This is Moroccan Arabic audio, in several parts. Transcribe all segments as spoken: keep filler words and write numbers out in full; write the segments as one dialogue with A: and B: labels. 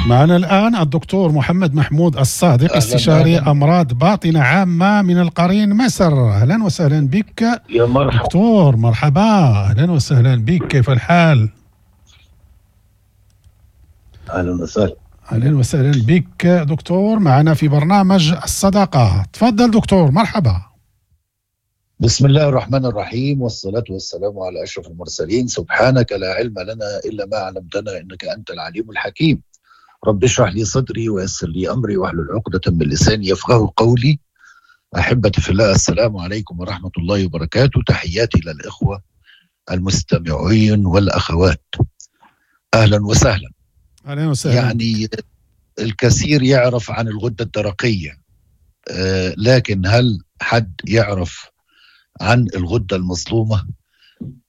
A: معنا الآن الدكتور محمد محمود الصادق، استشاري
B: أهلاً.
A: أمراض باطنة عامة من القرين مصر. أهلا وسهلا بك
B: يا مرحبا
A: دكتور. مرحبا، أهلا وسهلا بك، كيف الحال؟
B: اهلا وسهلا.
A: أهلا وسهلا بك دكتور، معنا في برنامج الصداقة. تفضل دكتور، مرحبا.
B: بسم الله الرحمن الرحيم، والصلاة والسلام على أشرف المرسلين. سبحانك لا علم لنا إلا ما علمتنا إنك أنت العليم الحكيم. رب اشرح لي صدري ويسر لي أمري واحلل عقدة من لساني يفقه قولي. أحبتي في الله، السلام عليكم ورحمة الله وبركاته. تحياتي للإخوة المستمعين والأخوات، أهلا وسهلا.
A: أهلا وسهلا.
B: يعني الكثير يعرف عن الغدة الدرقية، آه، لكن هل حد يعرف عن الغدة المظلومة؟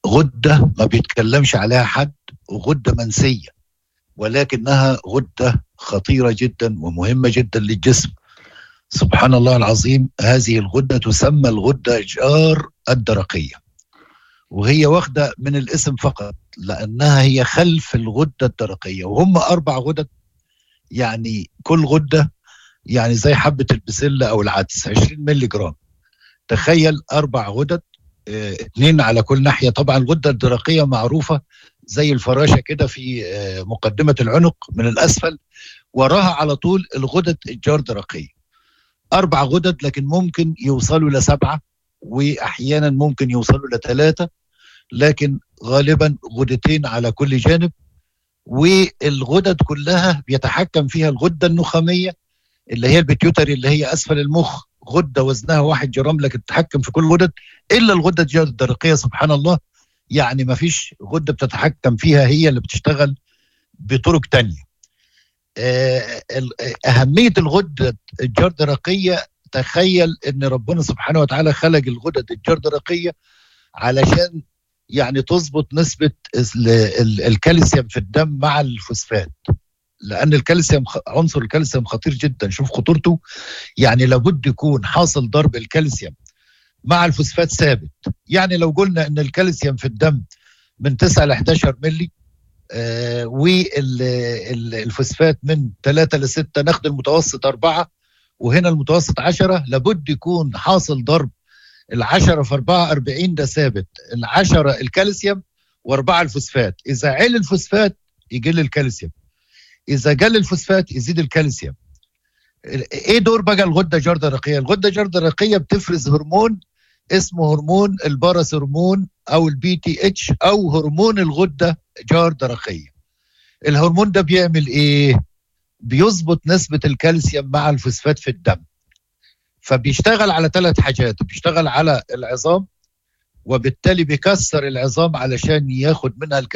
B: غدة ما بيتكلمش عليها حد، وغدة منسية، ولكنها غدة خطيرة جدا ومهمة جدا للجسم. سبحان الله العظيم، هذه الغدة تسمى الغدة جار الدرقية، وهي واخدة من الاسم فقط لأنها هي خلف الغدة الدرقية. وهم أربع غدد، يعني كل غدة يعني زي حبة البسلة أو العدس عشرين ملي جرام. تخيل أربع غدد، اه، اتنين على كل ناحية. طبعا الغدة الدرقية معروفة زي الفراشة كده في، اه، مقدمة العنق من الأسفل، وراها على طول الغدد الجار درقية. أربع غدد، لكن ممكن يوصلوا لسبعة، وأحيانا ممكن يوصلوا لثلاثة، لكن غالبا غدتين على كل جانب. والغدد كلها بيتحكم فيها الغدة النخامية اللي هي ال pituitary اللي هي أسفل المخ، غدة وزنها واحد جرام لكن تتحكم في كل غدد إلا الغدة الجار الدرقية. سبحان الله، يعني ما فيش غدة بتتحكم فيها، هي اللي بتشتغل بطرق تانية. آه، ال-، أهمية الغدة الجار درقية، تخيل إن ربنا سبحانه وتعالى خلق الغدد الجار درقية علشان يعني تظبط نسبة ال-، ال-، الكالسيوم في الدم مع الفوسفات، لأن الكالسيوم خ-، عنصر الكالسيوم خطير جدا. شوف خطورته، يعني لابد يكون حاصل ضرب الكالسيوم مع الفوسفات ثابت. يعني لو قلنا إن الكالسيوم في الدم من تسعة ل إحداشر ملي، آه، والفوسفات من تلاتة ل ستة، ناخد المتوسط أربعة وهنا المتوسط عشرة، لابد يكون حاصل ضرب العشرة في أربعة أربعين ده ثابت، العشرة الكالسيوم وأربعة الفوسفات. إذا عل الفوسفات يقل الكالسيوم، إذا قل الفوسفات يزيد الكالسيوم. إيه دور بقى الغدة الجار درقية؟ الغدة الجار درقية بتفرز هرمون اسمه هرمون الباراثورمون أو البي تي اتش أو هرمون الغدة جار درقية. الهرمون ده بيعمل إيه؟ بيظبط نسبة الكالسيوم مع الفوسفات في الدم. فبيشتغل على ثلاث حاجات، بيشتغل على العظام وبالتالي بيكسر العظام علشان ياخد منها الكالسيوم.